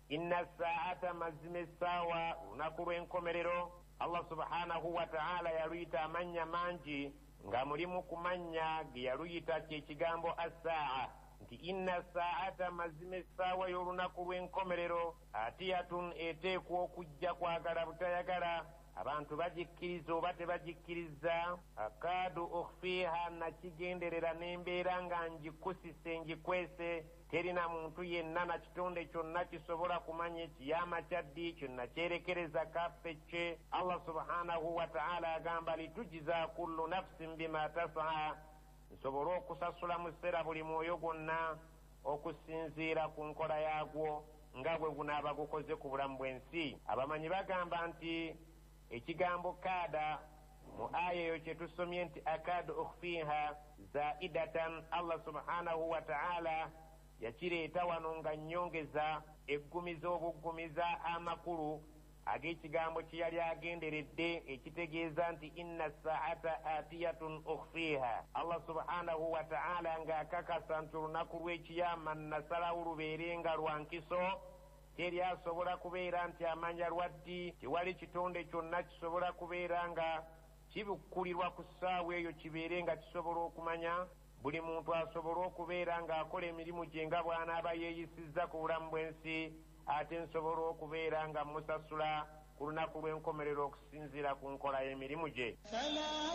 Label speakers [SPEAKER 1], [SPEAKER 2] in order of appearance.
[SPEAKER 1] Inna saata, mazima essaawa, lunaku lw'enkomerero, Allah subhanahu wataala yaluyita amannya mangi, nga mulimu ku mannya ge yaluyita kyekigambo assaa, nti inna saata, mazima essaawa y'olunaku lw'enkomerero, atiyatun, eteekwa okujja kwagala butayagala, abantu bagikkiriza oba tebagikkiriza. Akaadu ukhfiiha, nakigenderera n'embeera nga ngikusise ngikwese, terina muntu yenna na kitonde kyonna kisobola kumanya ekiyama kya ddi, kyonna kyerekereza kaffe kye. Allah subhanahu wataala agamba litujiza kullu nafsin bima tasaa, nsobole okusasula mu sseera buli mwoyo gwonna okusinziira ku nkola yaagwo nga bwe gunaaba gukoze ku bulamu bw'ensi. Abamanyi bagamba nti ekigambo kaada mu aya eyo kye tusomye nti akaadu ukhfiiha zaidatan, Allah subhanahu wataala yakireeta wano nga nnyongeza eggumiza obuggumiza amakulu ag'ekigambo kye yali agenderedde, ekitegeeza nti inna saata atiyatun ukhfiiha. Allah subhanahu wataala ng'akakasa nti olunaku lw'ekiyama nasalawo lubeere nga lwa nkiso, teri asobola kubeera nti amanya lwaddi, tewali kitonde kyonna kisobola kubeera nga kibikkulirwa ku ssaawa eyo kibeere nga kisobola okumanya. Buli muntu asobole okubeera ng'akola emirimu gye nga bw'anaaba yeeyisizza ku bulamu bw'ensi, ate nsobola okubeera nga musasula ku lunaku lw'enkomerero okusinziira ku nkola y'emirimu gye.